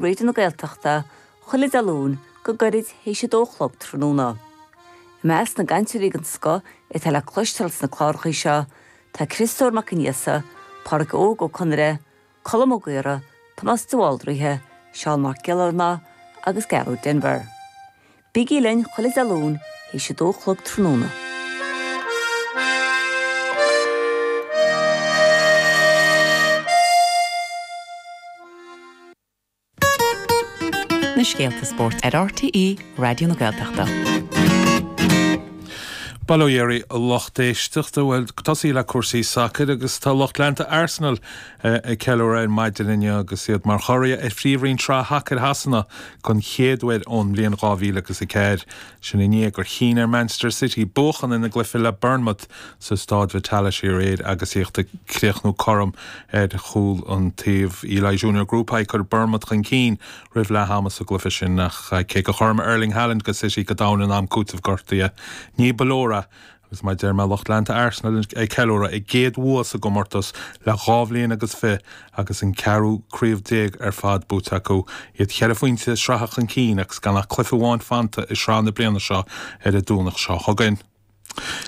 Raidió na Gaeltachta, chuile Dé Luain go gairid théis a dó a chlog tráthnóna. I measc na gcainteoirí den scoth atá le cloisteáil sna clárachaí seo tá Criostóir Mac Aonghusa, Pádhraic Óg Ó Conaire, Colm Ó Gaora, Tomás de Bhaldraithe, Seán Mac Giollarnáth agus Gearóid Denvir. Bígí linn chuile Dé Luain théis a dó a chlog tráthnóna. Na scéalta spóirt ar RTÉ Raidió na Gaeltachta. Bail ó Dhia oraibh a lucht éisteachta. Bhuel, tosaí le cúrsaí sacair agus tá lucht leanta Arsenal ag ceiliúradh ar maidin inniu agus iad mar churaidh ar Phríomhroinn Sraith Shacair Shasana don chéad uair ón mbliain 2004. Sin i ndiaidh gur chinn ar Manchester City buachan ina gcluiche le Bournemouth sa Stáid Vitality aréir agus iad ag críochnú cothrom ar chúl an taobh. Eli Junior Kroupi ag cur Bournemouth chun cinn roimh leath ama sa gcluiche sin ach cé gur chothromaigh Erling Haaland do City go domhain in am cúitimh gortaithe, ní ba leor é agus mar a deir mé lucht leanta Arsenal ag ceiliúradh a gcéad bhua sa gcomórtas le dhá bhliain agus fi agus an ceathrú craobh déag ar fad buaite acu, iad cheithre phointe sraithe chun cinn agus gan ach cluiche amháin fanta i sraith na bliana seo ar an Domhnach seo chugainn.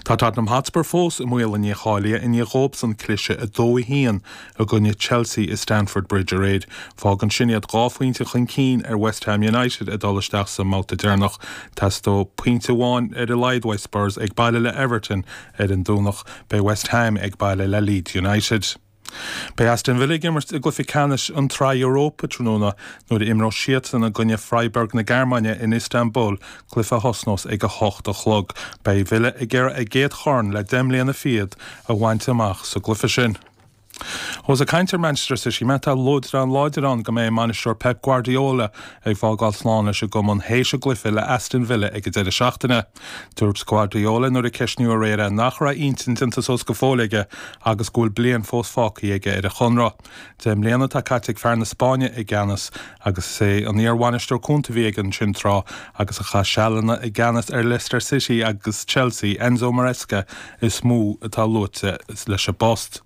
Tá Tottenham Hotspur fós i mbaol a ndícháilithe i ndiaidh dhóibhsean cliseadh 2-1 i gcoinne Chelsea i Stamford Bridge aréir. Fágann sin iad dhá phointe chun cinn ar West Ham United ag dul isteach sa mbabhta deireanach. Teastóidh pointe amháin ar a laghad uaidh Spurs ag baile le Everton ar an Domhnach. Beidh West Ham ag baile le Leeds United. Beidh Aston Villa ag imirt i gcluiche ceannais an tSraith Europa tráthnóna nuair a imreoidh siadsan i gcoinne Freiburg na Gearmáine in Istanbul, cluiche a thosnós ag 8 a chlog. Beidh Villa ag iarraidh a gcéad chorn le deich mbliana fichead a bhaint amach sa gcluiche sin. Ós ag caint ar Manchester City mé, tá luaidreán láidir ann go mbeidh a mbainisteoir Pep Guardiola ag fágáil slán leis an gcumann théis a gcluiche le Aston Villa ag an deireadh seachtaine. Dúirt Guardiola nuair a ceistníodh aréir é nach raibh a intinn déanta suas go fóill aige agus go bhfuil bliain fós fágtha aige ar a chonradh. 10 mbliana atá caite ag fear na Spáinne i gceannas agus is é an iar-bhainisteoir cúnta a bhí aige ansin tráth agus a chaith sealanna i gceannas ar Leicester City agus Chelsea, Enzo Maresca, is mó atá luaite leis an bpost.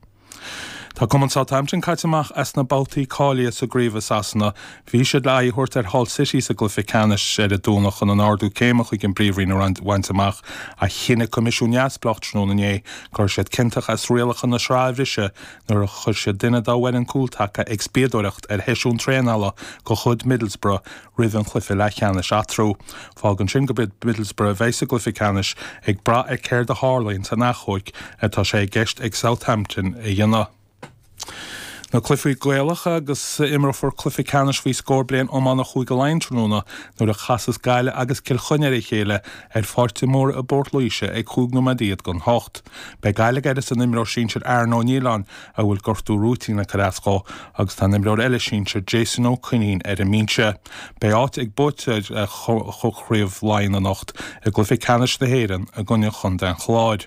Tá cumann Southampton caite amach as na babhtaí cáilithe sa gcraobh i Sasana. Bhí siad le aghaidh a thabhairt ar Hull City sa gcluiche ceannais ar an Domhnach chun an ardú céime chuig an bPríomhroinn a bhaint amach ach chinn an coimisiún neamhspleách tráthnóna inné go raibh siad ciontach as rialacha na sraithe a bhriseadh nuair a chuir siad duine dá bhfoireann cúltaca ag spiadóireacht ar sheisiún traenála de chuid Middlesbrough roimh an chluiche leathcheannais eatarthu. Fágann sin gurb iad Middlesbrough a bheidh sa gcluiche ceannais, ag brath ar céard a tharlaíonn san achomharc atá sé i gceist ag Southampton a dhéanamh. Na cluichí Gaelacha agus imreofar cluiche ceannais faoi scór bliain iomána Chúige Laighean tráthnóna nuair a chasas Gaillimh agus Cill Chainnigh ar a chéile ar Pháirc de Mórdha i bPort Laoise ag chúig nóiméad don hocht. Beidh Gaillimh ag uireasa an imreoir sinsir Aaron Ó Nialláin a bhfuil gortú rúitín ag cur as dhó agus tá an imreoir eile sinsir Jason Ó Coinín ar an mbinse. Beidh áit ag buaiteoir Chraobh Laighean anocht i gcluiche ceannais na hÉireann i gcoinne Chontae an Chláir.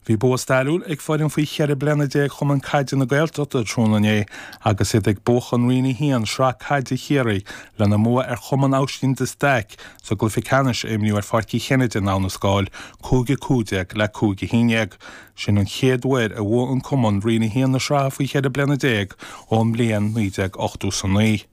Bhí bua stairiúil ag foireann faoi 14 bliana Chumann Caide na Gaeltachta tráthnóna inné agus iad ag buachan Roinn 1 Sraith Caide Chiarraí lena mbua ar Chumann Aibhistín de Staic sa gcluiche ceannais a imríodh ar Pháirc Uí Chinnéide i nDamhna Scáil, 5-15 le 5-11. Sin an chéad uair a bhuaigh an cumann Roinn 1 na sraithe faoi 14 bliana ón mbliain 1989.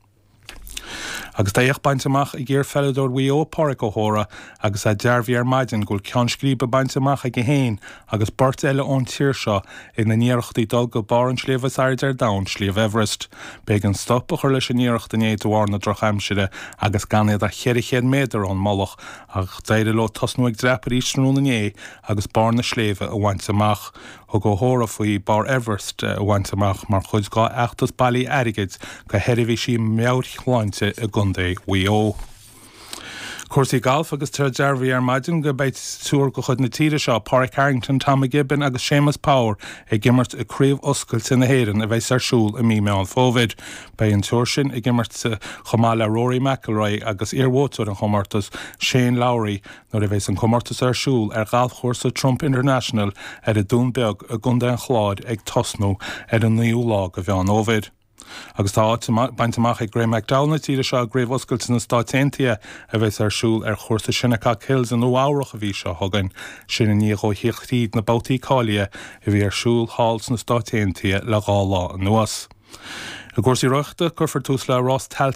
Agus tá éacht bainte amach ag iar-pheileadóir Mhaigh Eo, Pádraic Ó hÓra, agus é dearbhaithe ar maidin go bhfuil ceann scríbe bainte amach aige féin agus beirt eile ón tír seo ina n-iarrachtaí dul go barr an tsléibhe is airde ar domhan, Sliabh Everest. B'éigean stop a chur leis an iarracht inné de bharr na drochaimsire agus gan iad ach 400 méadar ón mullach ach d'éirigh leo tosnú ag dreapadh arís tráthnóna inné agus barr na sléibhe a bhaint amach. Thug Ó hÓra faoi barr Everest a bhaint amach mar chuid dá fheachtas bailithe airgid do sheirbhísí meabhairshláinte i gContae Mhaigh Eo. Cúrsaí gailf agus tá dearbhaithe ar maidin go mbeidh triúr de chuid na tíre seo, Pádraig Harrington, Tom McGibbon agus Séamus Power ag imirt i Craobh Oscailte na hÉireann a bheas ar siúl i mí Meán Fómhair. Beidh an triúr sin ag imirt chomh maith le Rory McIlroy agus iarbhuaiteoir an chomórtais, Shane Lowry, nuair a bheas an comórtas ar siúl ar ghalfchúrsa Trump International ar an Dún Beag i gContae an Chláir ag tosnú ar an 9ú lá de Mheán Fhómhair. Agus tá áit bainte amach ag Graeme McDowell na tíre seo i gCraobh Oscailte na Stáit Aontaithe a bheas ar siúl ar chúrsa Shinnecock Hills i Nua Eabhrach an mhí seo chugainn, sin i ndiaidh dhó theacht thríd na babhtaí cáilithe a bhí ar siúl thall sna Stáit Aontaithe le dhá lá anuas. I gcúrsaí rothaíochta, cuirfear tús le Rás Tailteann.